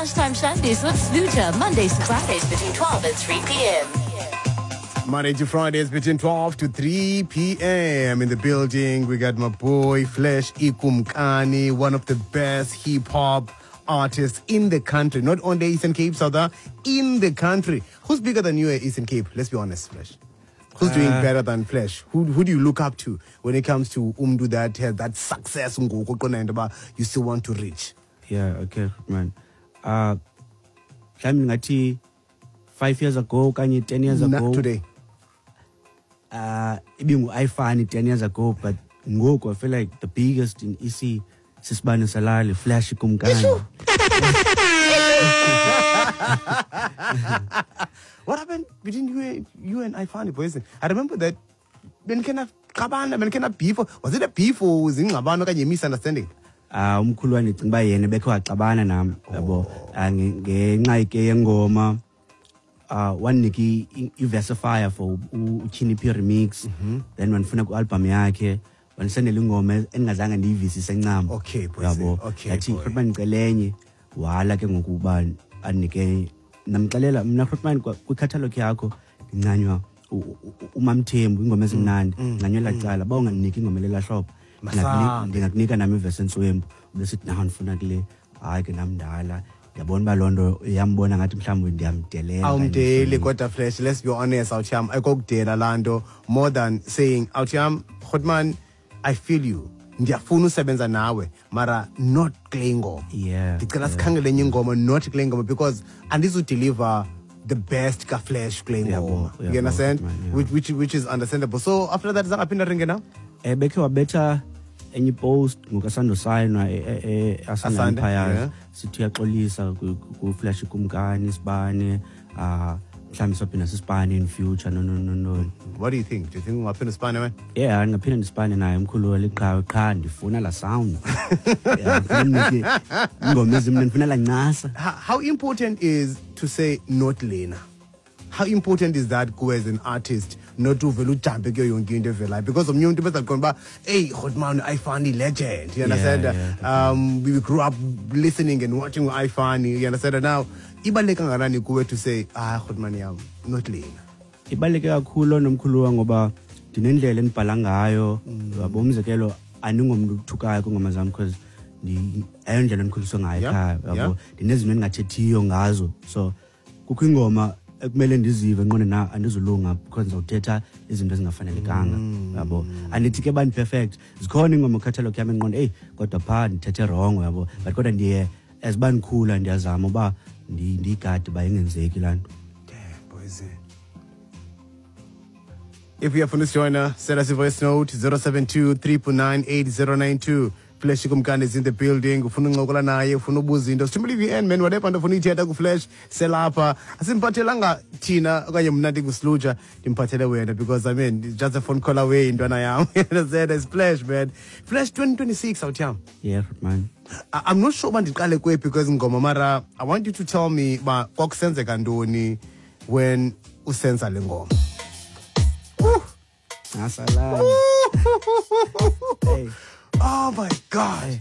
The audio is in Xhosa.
Lunchtime Shandies with Sluja, Mondays to Fridays between 12 and 3 p.m. Monday to Fridays between 12 to 3 p.m. In the building, we got my boy Flesh Ikumkani, one of the best hip hop artists in the country. Not only Eastern Cape, Southern, in the country. Who's bigger than you at Eastern Cape? Let's be honest, Flesh. Who's doing better than Flesh? Who do you look up to when it comes to umntu that has that success ngoku oqonda into yoba you still want to reach? Yeah, okay, man. Mhlawumbi ndingathi 5 years ago okanye 10 years Not ago. today. Ibingu-Ifani 10 years ago, but ngoku I feel like the biggest in EC sisibane salali, Flash Kumkani. What happened between you and Ifani, boys? I remember that benikena xabana, benikena beef. Was it a beef or was it ingxabano okanye misunderstanding? Umkhulu wam ndicinga uba yena bekhe waxabana nam, yabo. Ngenxa ke yengoma, wandinika i-Versifier for uTyhini P remix. Then wandifuna ku-album yakhe, wandisendela ingoma endingazange ndiyivisise ncam. Okay, boys. Yabo. Okay, Ndathi, boy. Grootman, ndicela enye. Wala ke ngoku uba andinike. Ndamxelela mna, Grootman, kwikhathalogu yakho ndincanywa uMamthembu, ingoma ezimnandi. Ndincanywa elaa cala. Uba ungandiniki ingoma elelaa hlobo, Masambe. ndingakunika nam ivesi entswempu. Besithi, naw, ndifuna kule. Hayi ke nam ndala. Ndiyabona uba loo nto iyambona ngathi mhlawumbi ndiyamdelela. Awumdeli kodwa Flesh, let's be honest, awuthiyam, ayikokudela laa nto more than saying, awuthiyam, Grootman, I feel you. Ndiyafuna usebenza nawe, mara not kule ngoma. Ndicela sikhangele enye ingoma, not kule ngoma, because andizudeliver the best ka-Flash kule ngoma. You understand? Man, yeah. Which is understandable. So after that, zangaphinda ringe na? Bekhe wabetha enye post ngokasandosayinwa Asanda Asanda, Empire. yeah. Sithi uyaxolisa ku-Flash Kumkani, sibane, mhlawumbi sophinda sisibane in future, no, no, no, no. What do you think? Do you think ungaphinda usibane wena? Yeah, ndingaphinda ndisibane naye umkhulu weliqhawe, qha ndifuna laa sound. Yeah, ndifuna ndinike ingoma ezimnandi, ndifuna laa ncasa. How important is to say not lena? How important is that kuwe as an artist not uvele ujampe kuyo yonke into evelayo? Because omnye umntu bezaqonda uba, hey, Grootman, Ifani legend. You understand? Yeah, We grew up listening and watching Ifani. You understand? Now, ibaluleke kangakanani kuwe to say, Grootman yam, not lena? Ibaluleke kakhulu nomkhulu wam ngoba ndinendlela endibhala ngayo. Yabo, umzekelo, andingomntu uthukayo kwiingoma zam because ayondlela endikhuliswe ngayo ekhaya, yabo. Ndinezinto endingathethiyo ngazo. So kukho ingoma ekumele ndizive nqone na andizulunga because ndizawuthetha izinto ezingafanelekanga, yabo. Andithi ke bani perfect, zikhona iingoma kwikhethelo yam endiqonda, eyi, kodwa phaa ndithethe wrong, yabo. But kodwa ndiye as uba ndikhula ndiyazama uba ndiyigade uba ingenzeki laa nto. Damn, boys. If you have join us, send us a voice note 072 399 8092. Flash Kumkani is in the building. Ufuna uncokola naye, ufuna ubuza into. Sithumele i-VN, man, whatever nto ufuna uyithetha ku-Flash, selapha. Asimphathelanga thina okanye mna ndinguSluja, ndimphathele wena because it's just a phone call away intwana yam. You understand? It's Flash, man. Flash 2026 awuthiyam. Yeah, man. I'm not sure uba ndiqale kwephi kwezi ngoma, mara I want you to tell me uba kwakusenzeka ntoni when usenza le ngoma. Asalala. Hey. Oh my God. Hey.